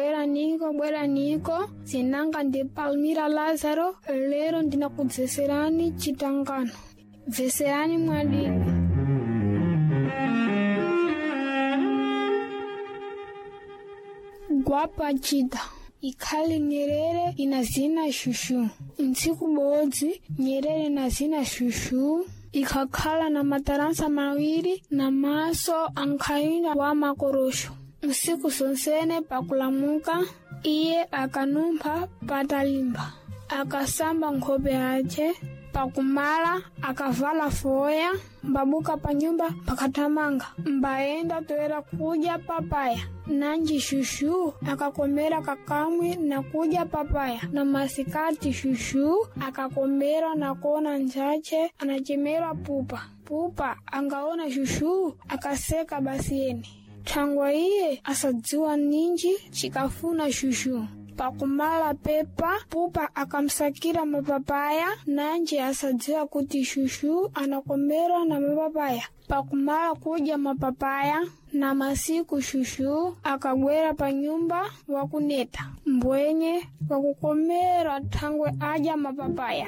Bweraniko, bweraniko. Zinanga ndi Palmira Lazaro. Lero ndinakudzeserani chitangano. Bveserani mwadidi. Gwapa chida ikhale Nyerere ina zina shushu. Ntsiku bodzi Nyerere na zina shushu ikhakhala na mataransa mawiri na maso ankhayina wa makorosho. Nsiku sonsene pakulamuka iye akanumpha patalimba, akasamba nkhope yace. Pakumala akavala foya, mbabuka panyumba pakathamanga, mbayenda toera kudya papaya. Nanji shushu akakomera kakamwe na kudya papaya. Na masikati shushu akakomera na kuona njache anachemerwa pupa. Pupa angaona shushu akaseka basi yene. Thangwa iye asadziwa ninji chikafuna shushu. Pakumala pepa pupa akamsakira mapapaya, nanji asadziwa kuti shushu anakomera na mapapaya. Pakumala kudya mapapaya na masiku shushu akagwera pa nyumba wakuneta mbwenye wakukomera thangwe adya mapapaya.